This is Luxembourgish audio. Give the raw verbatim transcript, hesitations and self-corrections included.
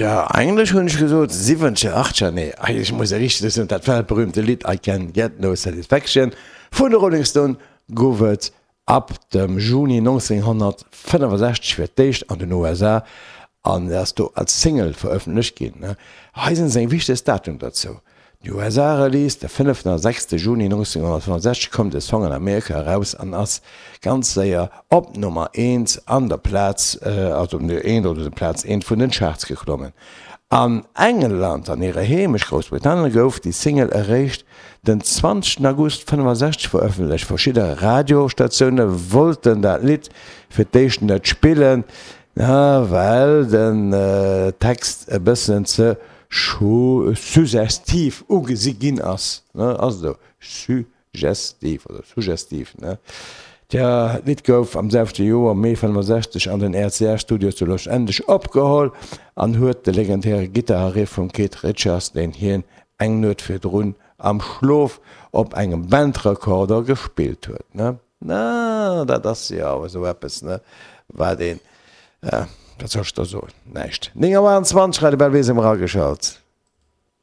Tja, eigentlech hunn ech gesot siwwenzeger, achtzeger, nee, eigentlech muss ech richteg soen, dat weltberühmte Lidd I Can't Get No Satisfaction vun de Rolling Stones gouf et ab dem Juni nonzénghonnertfënnefasechzeg fir d'éischt an den U S A an ass do als Single verëffentlecht ginn. Hei sinn seng wichtegst Datum dozou. De U S A-Release, de fënneften a sechste Juni nonzénghonnertfënnefasechzeg koum de Song an Amerika eraus an ass ganz séier op Nummer eent an der Plaz, also op Nummer eent oder Plaz eent vun den Charts geklommen. An England, an hirer Heemecht Groussbritannien, gouf déi Single eréischt den zwanzegsten August fënnefasechzeg verëffentlecht. Verschidde Radiostatioune wollten dat Lidd fir d'éischt net spillen, well den Text e bëssen ze suggestiv ugesi ginn ass, ne, ass esou, suggestiv oder suggestiv, ne. Tja, d'Lidd gouf am selwechte Joer, Mee fënnefasechzeg, an den R C A Studios zu Los Angeles opgeholl an huet de legendäre Gittarriff vum Keith Richards, deen hien eng Nuet virdrun am Schlof op engem Bandrekorder gespillt huet, ne. Na, dat ass jo awer esou eppes, ne, wat een, wat soll ech da soen, näischt. néng Auer an zwanzeg, Radio Belval, si mer ageschalt.